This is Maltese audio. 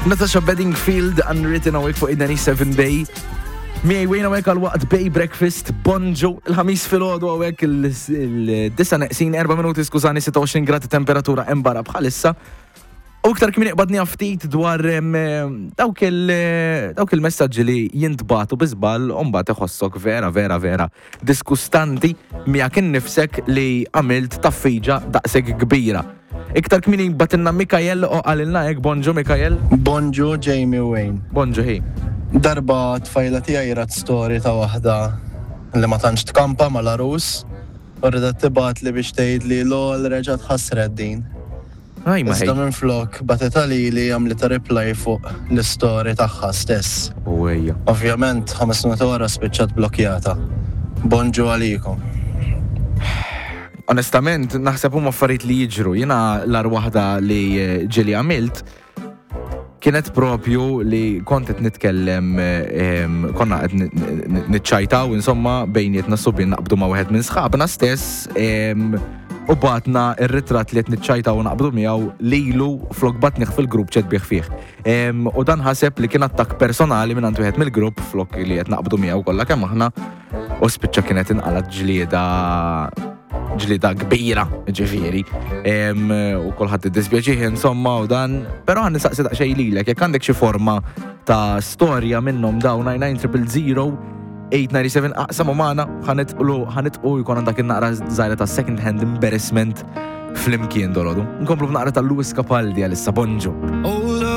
Natasha Bedingfield, Unwritten hawnhekk fuq 97 Bay. Miegħi wejn hawnhekk għal waqt Bay Breakfast, bonġu, il-ħamis filgħodu hawnhekk il-disa neqsin 4 minuti skużani 26 gradi temperatura hemm barra bħalissa. U iktar kmieni qbadni ftit dwar dawk il-messaġġi li jintbagħtu bi żball u mbagħad iħossok vera vera vera diskustanti miegħek innifsek li għamilt taffiġa daqshekk kbira. Iktar kmieni bagħtilna Mikael u qalilna hekk, Bonġu Mikael. Bonġu Jamie u Wayne. Bonġu ħi. Darba tfajla tiegħi rat story ta' waħda li ma tantx tkampa mal-għarus u ridet tibgħatli biex tgħidli lol reġgħet ħassret din. Iżda minflok bagħtitha lili għamlitha reply fuq l-istory tagħha stess. U ejja. Ovvjament ħames minuti wara spiċċat blokkjata. Bonġu għalikom. Onestament, naħseb huma affarijiet li jiġru. Jiena l-agħar waħda li ġieli għamilt kienet propju li kont qed nitkellem konna qed niċċajtaw insomma bejnietna subien naqbdu ma' wieħed minn sħabna stess u batna ir-ritratt li qed niċċajtaw u naqbdu miegħu lilu flok batnih fil-grupp chat bih fih. U dan ħaseb li kien attakk personali minn wieħed mill-grupp flok li qed naqbdu miegħu kollha kemm aħna u spiċċa kienet inqalat ġlieda ġlida kbira, ġifieri. U kulħadd iddispjaċih insomma u dan, però għan nistaqsi daqsxejn lilek, jekk għandek xi forma ta' storja minnhom dawn 99000 897 aqsam u magħna ħanitqlu ħanitqu jkun għandak in-naqra żgħira ta' second hand embarrassment flimkien dolodu. Nkomplu b'naqra ta' Louis Capaldi għalissa bonġu.